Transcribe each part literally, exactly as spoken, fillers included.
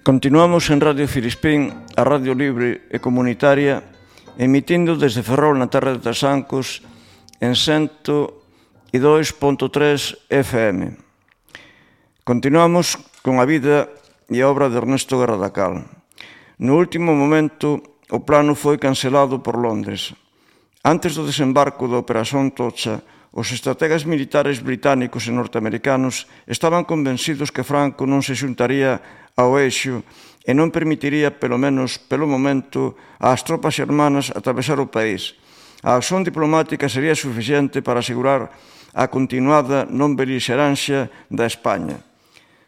Continuamos en Radio Filispín, a radio libre e comunitaria, emitindo desde Ferrol na terra de Trasancos en cento e dous punto tres F M. Continuamos con a vida e a obra de Ernesto Guerra da Cal. No último momento, o plano foi cancelado por Londres. Antes do desembarco da Operación Tocha, os estrategas militares británicos e norteamericanos estaban convencidos que Franco non se xuntaría ao eixo e non permitiría, pelo menos pelo momento, ás tropas xermanas atravesar o país. A acción diplomática sería suficiente para asegurar a continuada non belixerancia da España.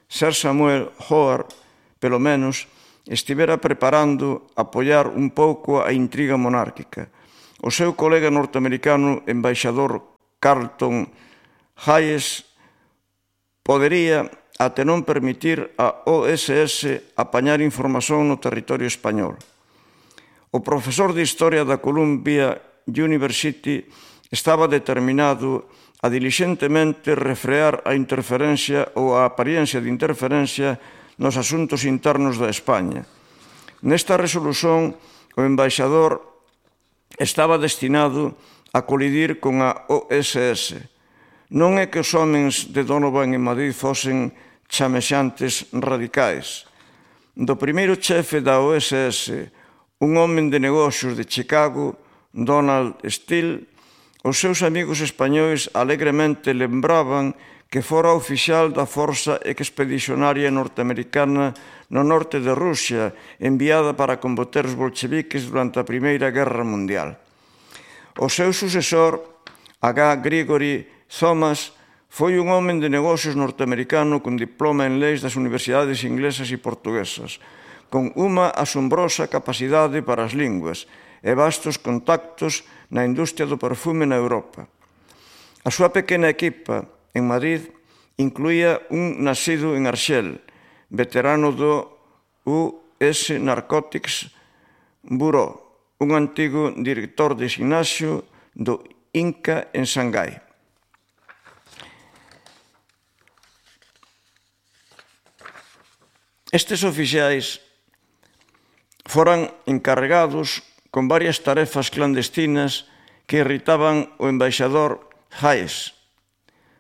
Sir Samuel Howard, pelo menos, estivera preparando apoiar un pouco a intriga monárquica. O seu colega norteamericano embaixador Carlton Hayes podería até non permitir a O S S apañar información no territorio español. O profesor de Historia da Columbia University estaba determinado a diligentemente refrear a interferencia ou a apariencia de interferencia nos asuntos internos da España. Nesta resolución, o embaixador estaba destinado a colidir con a O S S. Non é que os homens de Donovan en Madrid fosen chamexantes radicais. Do primeiro chefe da O S S, un home de negocios de Chicago, Donald Steele, os seus amigos españois alegremente lembraban que fora oficial da Forza Expedicionaria norteamericana no norte de Rusia, enviada para combater os bolcheviques durante a Primeira Guerra Mundial. O seu sucesor, H. Gregory Thomas, foi un home de negocios norteamericano con diploma en leis das universidades inglesas e portuguesas, con unha asombrosa capacidade para as linguas e vastos contactos na industria do perfume na Europa. A súa pequena equipa en Madrid incluía un nacido en Arxel, veterano do U S Narcotics Bureau, un antigo director de Ignacio do Inca en Xangai. Estes oficiais foran encarregados con varias tarefas clandestinas que irritaban o embaixador Hayes.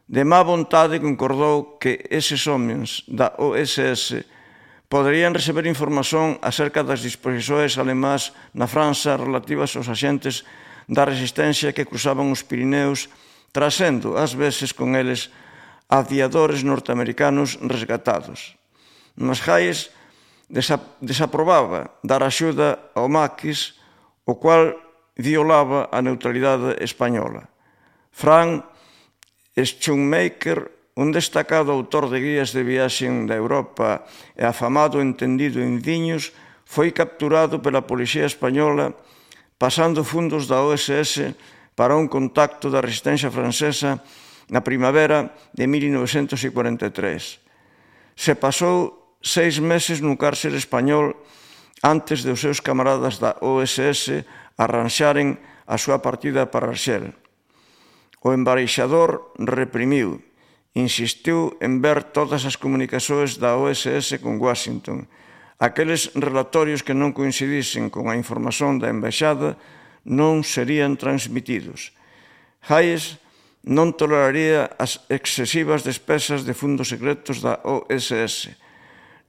De má vontade concordou que eses homens da O S S poderían receber información acerca das disposicións alemás na França relativas aos axentes da resistencia que cruzaban os Pirineos, trazendo, ás veces con eles, aviadores norteamericanos resgatados. Mas Hayes desaprobaba dar axuda ao Maquis, o cual violaba a neutralidade española. Frank Schoenmaker, un destacado autor de guías de viaxe da Europa e afamado entendido en viños, foi capturado pela policía española pasando fundos da O S S para un contacto da resistencia francesa na primavera de mil novecentos cuarenta e tres. Se pasou seis meses no cárcere español antes de os seus camaradas da O S S arranxaren a súa partida para Arxel. O embaixador reprimiu, insistiu en ver todas as comunicacións da O S S con Washington. Aqueles relatorios que non coincidisen con a información da embaixada non serían transmitidos. Hayes non toleraría as excesivas despesas de fundos secretos da O S S.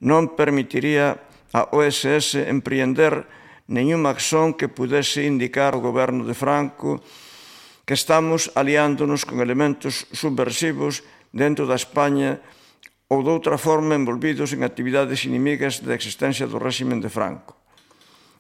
Non permitiría a O S S empreender nenhuma acción que pudese indicar ao goberno de Franco que estamos aliándonos con elementos subversivos dentro da España ou de outra forma envolvidos en actividades inimigas da existencia do réximen de Franco.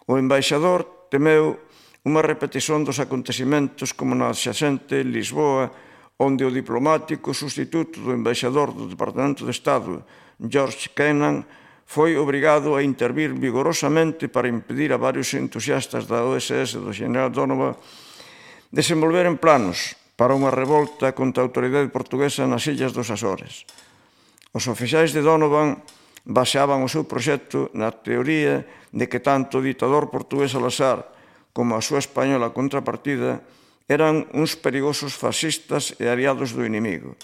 O embaixador temeu unha repetición dos acontecimentos como na adxacente Lisboa, onde o diplomático sustituto do embaixador do Departamento de Estado, George Kennan, foi obrigado a intervir vigorosamente para impedir a varios entusiastas da O S S do general Donovan desenvolveren planos para unha revolta contra a autoridade portuguesa nas illas dos Açores. Os oficiais de Donovan baseaban o seu proxecto na teoría de que tanto o ditador portugués Salazar como a súa española contrapartida eran uns perigosos fascistas e aliados do inimigo.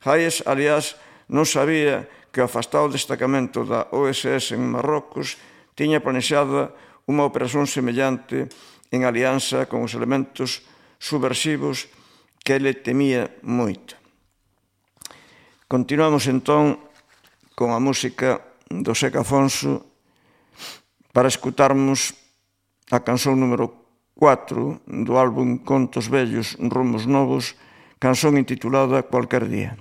Hayes, aliás, non sabía que o afastado destacamento da O S S en Marrocos tiña planexada unha operación semellante en alianza con os elementos subversivos que ele temía moito. Continuamos entón con a música do Seca Afonso para escutarmos a canción número cuatro do álbum Contos Vellos, Rumos Novos, canción intitulada Cualquer Día.